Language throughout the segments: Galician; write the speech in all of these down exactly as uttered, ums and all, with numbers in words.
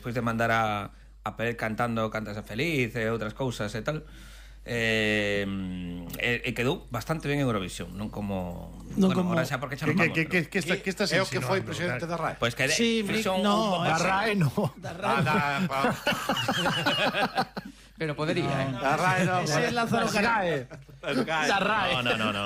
despois de mandar a, a Pelé cantando Cantas a Feliz e outras cousas e tal, eh, e, e quedou bastante ben en Eurovisión, non como... Non bueno, como... ahora xa porque xa non vamos. Que, que, que, que, que estás é o que foi presidente da R A E. Pois que Sí, fixo un... no, Da R A E no. Da R A E. Pero podería, eh. Da R A E non. Ese é Lázaro Carré. Da R A E. No, no, no, no.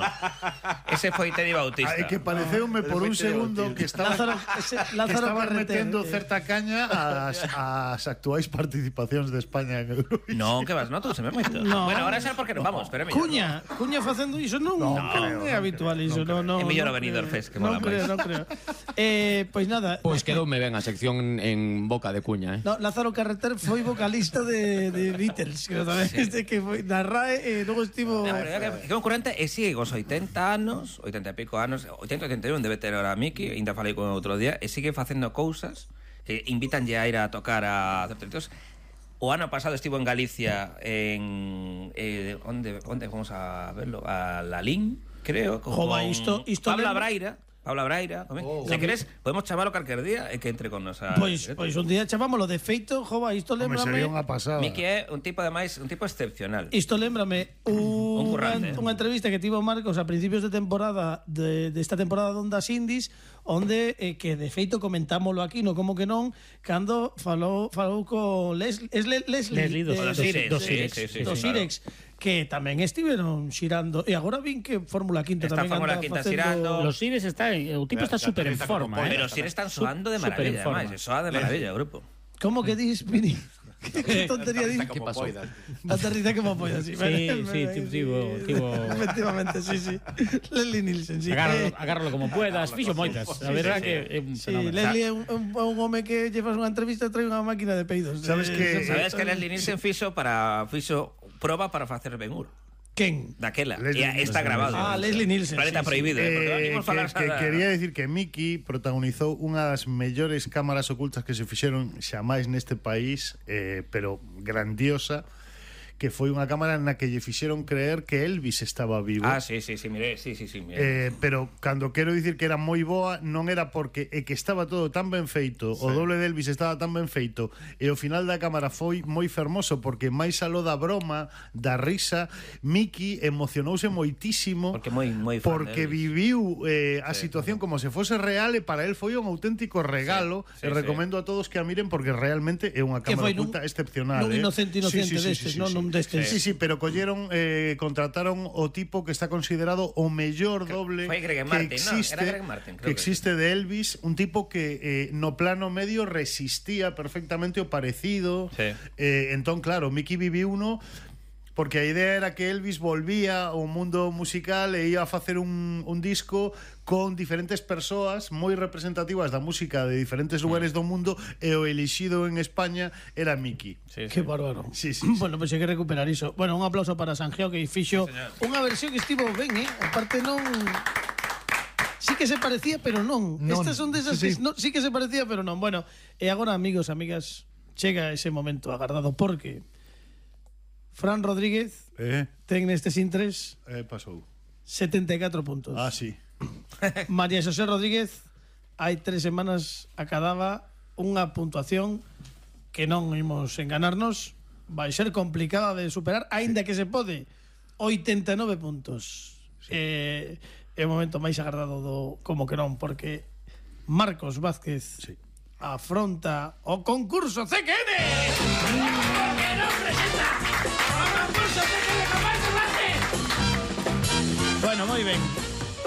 Ese foi Teddy Bautista. É que pareceume por un segundo que estaba, Lázaro, ese, que Lázaro estaba Carreter, metendo eh. certa caña ás, ás actuais participacións de España en Eurovisión. Non, que vas, non, tú se me moito. No. Bueno, ahora xa porque non vamos, pero é mellor. Cuña, Cuña facendo iso non, Non non creo, é non habitual creo, iso, non, non. É mellor non o Benidorm creo. Fest, que mola Non creo, máis. non creo. Eh, pois nada. Pois quedoume ben a sección en boca de Cuña, eh. No, Lázaro Carreter foi vocalista de, de Beatles, creo tamén, sí. Este que foi da R A E e logo estivo... No, pero é que, que concurrente e sigue cos oitenta anos, oitenta e pico anos, oitenta, oitenta e un debe ter ahora Miki, ainda falei con outro día, e sigue facendo cousas que invitanlle a ir a tocar a certos. O ano pasado estivo en Galicia en eh, onde onde vamos a verlo, a Lalín, creo, con Jova, isto- isto Pabla lembra- Braira. Paula Braira, oh, se queres, podemos chamarlo calquer día e que entre con nos a... Pois, pois un día chamámoslo de feito, jova, isto Home, lembrame... sería unha pasada. Miki é un tipo ademais, un tipo excepcional. Isto lembrame un, Un currante. unha, unha entrevista que tivo Marcos a principios de temporada de, de esta temporada de Ondas Indies, onde eh, que de feito comentámoslo aquí, no como que non, cando falou falou co Les, es Le, Leslie, Leslie dos- de- dos de- Irex, de- sí, sí, sí, dos sí, Irex, que tamén estiveron xirando e agora vin que Fórmula Quinta Está tamén Fórmula anda Quinta facendo... xirando. Los Ires está, o tipo está Ya, ya súper en aterriza forma, como eh. Pero si están soando de Súper en maravilla, forma. ademais, soa de maravilla o grupo. Como que dis, Pini? Que tontería dis? ¿Qué pasó? Aterriza como polla, sí. Sí, sí, tivo- tivo- Efectivamente, sí, sí. Leslie Nielsen, sí. Agárralo, Eh, agárralo como puedas, fixo moitas. A verdad que é un Sí, fenómeno. Leslie é un, un, un home que llevas unha entrevista e trae unha máquina de peidos. Sabes Eh, que- se- Sabes que Leslie Nielsen fixo para fixo proba para facer Ben Hur. Quen? Daquela. Leslie E está Nielsen, grabado. Ah, Leslie Nielsen, Planeta sí, sí. prohibido, eh, porque non Eh, imos que, falar que nada. quería decir que Miki protagonizou unha das mellores cámaras ocultas que se fixeron xamais neste país, eh, pero grandiosa, que foi unha cámara na que lle fixeron creer que Elvis estaba vivo. Ah, sí, sí, sí, mire, sí, sí, sí, mire. Eh, pero cando quero dicir que era moi boa, non era porque é que estaba todo tan ben feito, sí. O doble de Elvis estaba tan ben feito, e o final da cámara foi moi fermoso, porque máis aló da broma, da risa, Miki emocionouse moitísimo, Porque moi moi fan porque de Elvis. viviu eh, a Sí. situación como se fose real, e para él foi un auténtico regalo, Sí, sí, e recomendo a todos que a miren porque realmente é unha Que cámara foi nun- oculta excepcional. nun eh. inocente inocente destes, non? Nun destes. Sí, sí, pero colleron, eh, contrataron o tipo que está considerado o mellor doble foi Greg que Martin, ¿no? existe, Era Greg Martin, creo que que existe de Elvis, un tipo que eh, no plano medio resistía perfectamente o parecido. Sí. Eh, entón, claro, Miki viviu uno porque a idea era que Elvis volvía ao mundo musical e ia a facer un, un disco con diferentes persoas moi representativas da música de diferentes lugares do mundo, e o elixido en España era Miki. Sí, sí. Que bárbaro. Sí, sí, sí. Bueno, pois pues hai que recuperar iso. Bueno, un aplauso para Sanjeo que fixo Sí, unha versión que estivo ben, eh? Aparte non... Sí que se parecía, pero non. Non. Estas son desas Sí, sí. que no, sí que se parecía, pero non. Bueno, e agora, amigos, amigas, chega ese momento agardado porque Fran Rodríguez Eh, ten nestes intres eh, pasou. setenta e catro puntos. Ah, sí. María Xosé Rodríguez hai tres semanas acadaba unha puntuación que non imos enganarnos, vai ser complicada de superar, aínda que se pode. oitenta e nove puntos. Sí. Eh, é o momento máis agardado do como que non, porque Marcos Vázquez Sí. afronta o concurso C Q N. Que non presenta o concurso C Q N con Marcos Vázquez. Bueno, moi ben.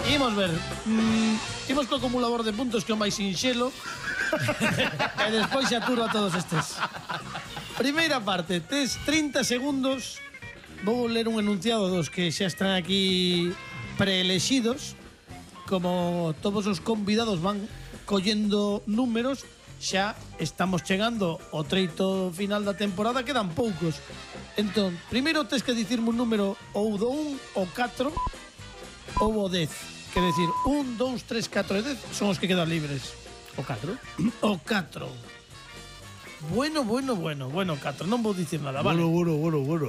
Imos ver. Mm, imos co acumulador de puntos que é o máis sinxelo. E despois xa turo a todos estes. Primeira parte, tes trinta segundos. Vou ler un enunciado dos que xa están aquí preelexidos. Como todos os convidados van collendo números, xa estamos chegando ao treito final da temporada, quedan poucos. Entón, primeiro tes que dicirme un número ou do un ou catro ou o dez. Quer decir, un, dous, tres, catro e dez son os que quedan libres. O catro. O catro. Bueno, bueno, bueno, bueno, catro, non vou dicir nada, vale. Bueno, bueno, bueno, bueno.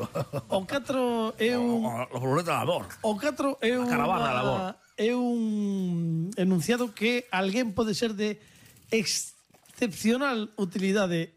O catro é un Los boletos de labor. O catro é un caravana da labor. é un enunciado que alguén pode ser de excepcional utilidade